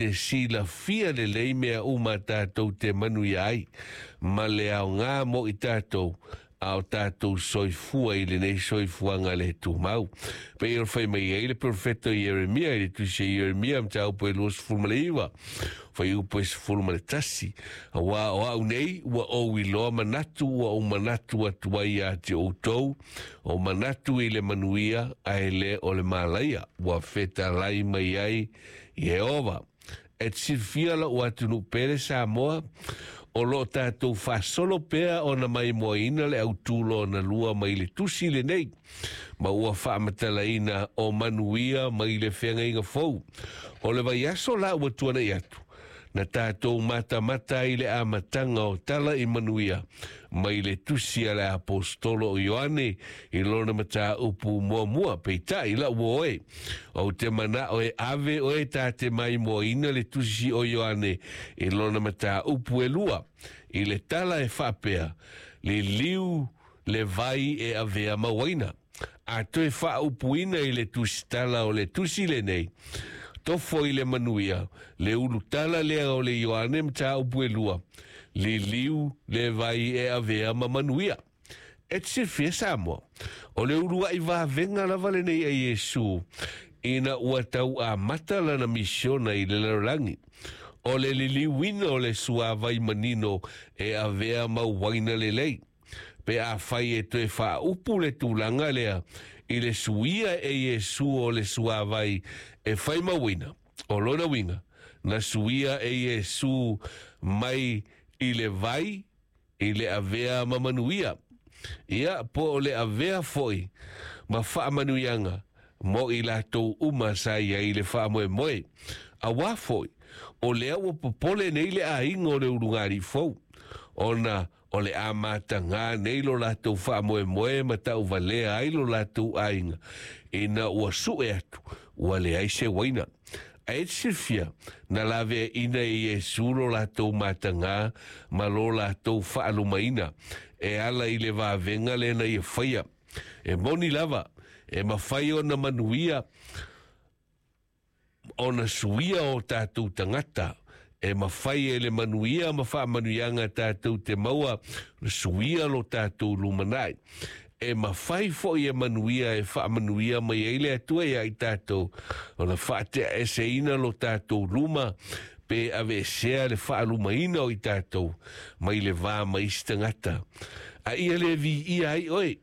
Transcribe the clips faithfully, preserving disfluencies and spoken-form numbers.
E silafia lelei mea uma tatou te manuia ai, ma le aoga mo i tatou, a o tatou soifua i lenei soifuaga le tumau. Pei o le fai mai ai le perofeto Ieremia i le tusi a Ieremia mataupu e luasefulu ma le iva, fuaiupu e sefulu ma le tasi, auā o au nei ua ou iloa manatu ua ou manatu atu ai ia te outou, o manatu i le manuia ae le o le malaia, ua fetalai mai ai Ieova. E te silafia lou atunuu pele Samoa, o loo tatou faasolo pea ona maimoaina le autū lona lua mai le tusi lenei, ma ua faamatalaina o manuia mai le feagaiga fou. O le vaiaso la ua tuanai atu, na tatou matamata ai i le amataga o tala i manuia mai le tusi a le aposetolo o Ioane i lona mataupu muamua. Peitai lau oe, ou te manao e ave oe ta te maimoaina le tusi o Ioane i lona mataupu e lua, i le tala e faapea, liliu le vai e avea ma uaina. A toe faaupuina i le tusitala o le tusi lenei, tofo i le manuia, le ulutala lea o le Ioane mataupu e lua, liliu le vai e avea ma manuia. E te silafia Samoa, o le uluai vavega lava lenei a Iesu, ina ua tau amata lana misiona i le lalolagi. O le liliuina o le suavai manino e avea ma uaina lelei. Pe afai e toe faaupu le tulaga lea i le suia e Iesu o le suavai e fai mauina, o lona uiga, na suia e Iesu mai i le vai i le avea ma manuia. Ia, po o le avea foi ma faamanuiaga mo i latou uma sa i ai le faamoemoe. Auā foi, o lea ua popole nei le aiga o le ulugalii fou, ona o le a matagā nei lo latou faamoemoe ma tauvalea ai lo latou aiga, ina ua sue atu ua leai se uaina. Ae te silafia, na laveaina e Iesu lo latou matagā ma lo latou faalumaina e ala i le vavega lea na ia faia. E moni lava, e mafai ona manuia ona suia o tatou tagata, e mafai e le manuia ma faamanuiaga tatou te maua suia lo tatou lumanai. E mafai foi e manuia e faamanuia mai ai le Atua ia i tatou, ona faateaeseina lo tatou luma, pe aveesea le faalumaina o i tatou mai le va ma isi tagata. A ia le viia ai oe,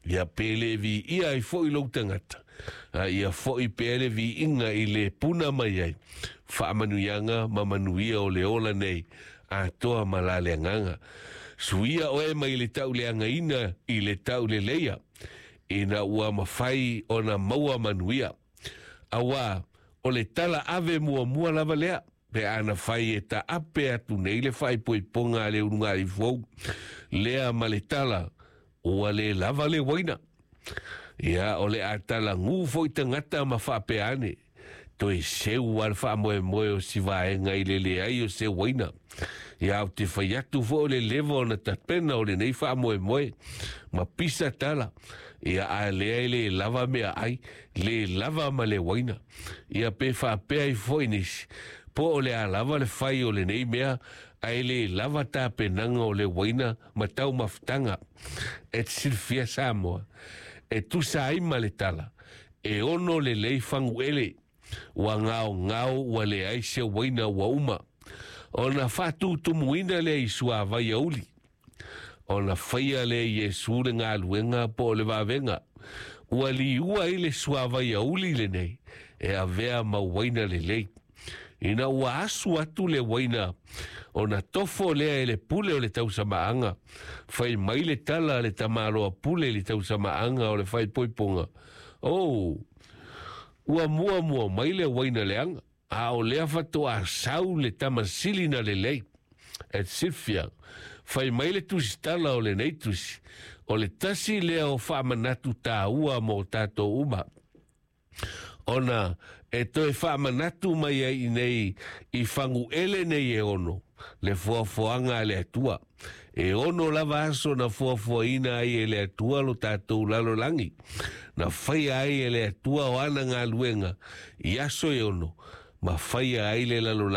ia pe le viia ai foi lou tagata, a ia foi pea le viiga i le puna mai ai faamanuiaga ma manuia o le ola nei atoa ma la le agaga. Suia oe mai le tauleagaina i le tauleleia, ina ua mafai ona maua manuia. Auā o le tala ave muamua lava lea, pe ana fai e taape atu nei le faaipoipoga a le ulugalii fou lea ma le tala, ua le lava le uaina. Ia, o le a talagū foi tagata ma faapea ane, toe seu a le faamoemoe o si vaega i le leai o se uaina. Ia, ou te fai atu foi o le leva ona tapena o lenei faamoemoe ma pisa tala. Ia, a lea e le lava meaai, le lava ma le uaina. Ia, pe faapea ai foi nisi, po o le a lava le fai o lenei mea, ae le lava tapenaga o le uaina ma taumafataga. E te silafia Samoa, e tusa ai ma le tala, e ono lelei faguele, ua gaogao ua leai se uaina ua uma. Ona faatutumuina lea i suavai auli, ona faia lea e Iesu le galuega po o le vavega, ua liua ai le suavai auli lenei e avea ma uaina lelei. Ina ua asu atu le uaina, ona tofo lea e le pule o le tausamaaga, fai mai le tala a le tamaloa pule i le tausamaaga o le faaipoipoga, O, ua muamua mai le uaina leaga, a o lea faatoa sau le tama sili na lelei. E te silafia, fai mai le tusitala o lenei tusi, o le tasi lea o faamanatu tāua mo tatou uma, ona e toe faamanatu mai ai i nei i faguele nei e ono le foafoaga a le Atua. E ono lava aso na foafoaina ai e le Atua lo tatou lalolagi, na faia ai e le Atua o ana galuega i aso e ono, ma faia ai le lalolagi.